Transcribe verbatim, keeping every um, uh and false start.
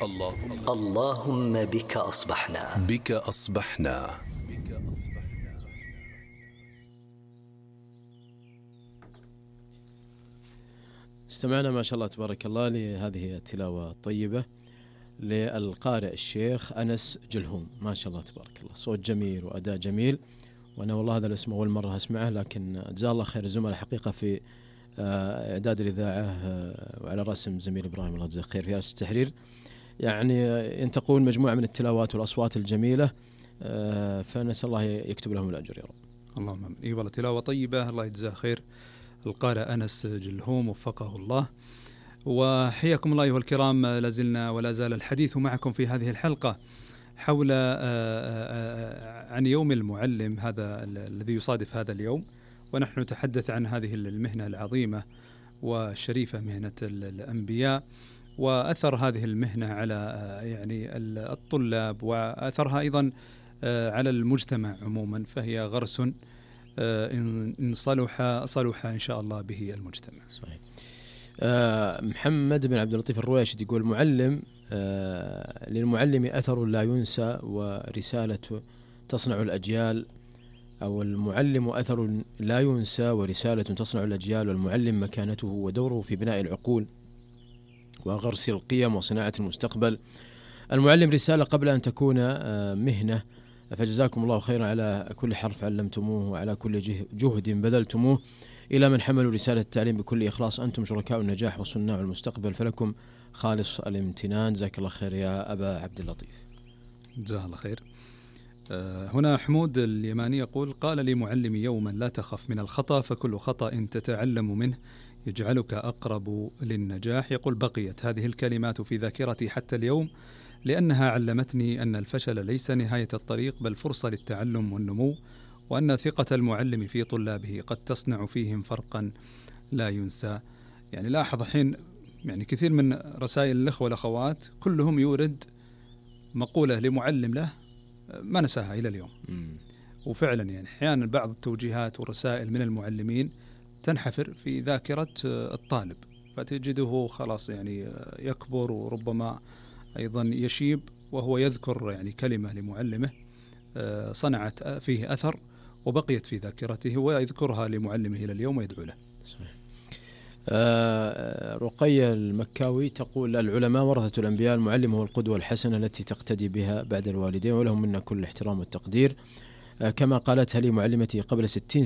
اللهم اللهم بك أصبحنا بك أصبحنا. استمعنا ما شاء الله تبارك الله لهذه التلاوة الطيبة للقارئ الشيخ أنس جلهوم، ما شاء الله تبارك الله، صوت جميل وأداء جميل. وأنا والله هذا الاسم أول مرة أسمعه، لكن جزاه الله خير الزملاء حقيقة في إعداد الإذاعة وعلى رسم زميل إبراهيم الله يجزاه خير في رأس التحرير. يعني ينتقون مجموعة من التلاوات والأصوات الجميلة، فنسأل الله يكتب لهم الأجر يا رب. اللهم آمين. إيه والله تلاوة طيبة، الله يجزاه خير القارئ أنس جلهوم وفقه الله. وحياكم الله أيها الكرام، لازلنا ولا زال الحديث معكم في هذه الحلقة حول عن يوم المعلم، هذا الذي يصادف هذا اليوم، ونحن نتحدث عن هذه المهنة العظيمة والشريفة، مهنة الأنبياء، وأثر هذه المهنة على يعني الطلاب، وأثرها أيضا على المجتمع عموما، فهي غرس إن صلح صلح إن شاء الله به المجتمع. صحيح. أه محمد بن عبد اللطيف الرويشد يقول: معلم أه للمعلم أثر لا ينسى ورسالة تصنع الأجيال، أو المعلم أثر لا ينسى ورسالة تصنع الأجيال، والمعلم مكانته ودوره في بناء العقول وغرس القيم وصناعة المستقبل. المعلم رسالة قبل أن تكون مهنة، فجزاكم الله خيرا على كل حرف علمتموه وعلى كل جهد بذلتموه إلى من حملوا رسالة التعليم بكل إخلاص. أنتم شركاء النجاح وصناع المستقبل، فلكم خالص الامتنان. جزاك الله خير يا أبا عبد اللطيف. جزاه الله خير. هنا حمود اليماني يقول: قال لي معلمي يوما: لا تخف من الخطأ، فكل خطأ تتعلم منه يجعلك أقرب للنجاح. يقول: بقيت هذه الكلمات في ذاكرتي حتى اليوم، لأنها علمتني أن الفشل ليس نهاية الطريق، بل فرصة للتعلم والنمو، وأن ثقة المعلم في طلابه قد تصنع فيهم فرقا لا ينسى. يعني لاحظ حين يعني كثير من رسائل الأخوة والأخوات كلهم يورد مقولة لمعلم له ما نساها إلى اليوم. م. وفعلا يعني أحيانا بعض التوجيهات والرسائل من المعلمين تنحفر في ذاكرة الطالب، فتجده خلاص يعني يكبر، وربما أيضا يشيب وهو يذكر يعني كلمة لمعلمه صنعت فيه أثر وبقيت في ذاكرته، ويذكرها لمعلمه إلى اليوم ويدعو له. صحيح. آه رقية المكاوي تقول: العلماء ورثة الأنبياء، المعلم هو القدوة الحسنة التي تقتدي بها بعد الوالدين، ولهم منا كل الاحترام والتقدير. آه كما قالتها لي معلمتي قبل ستين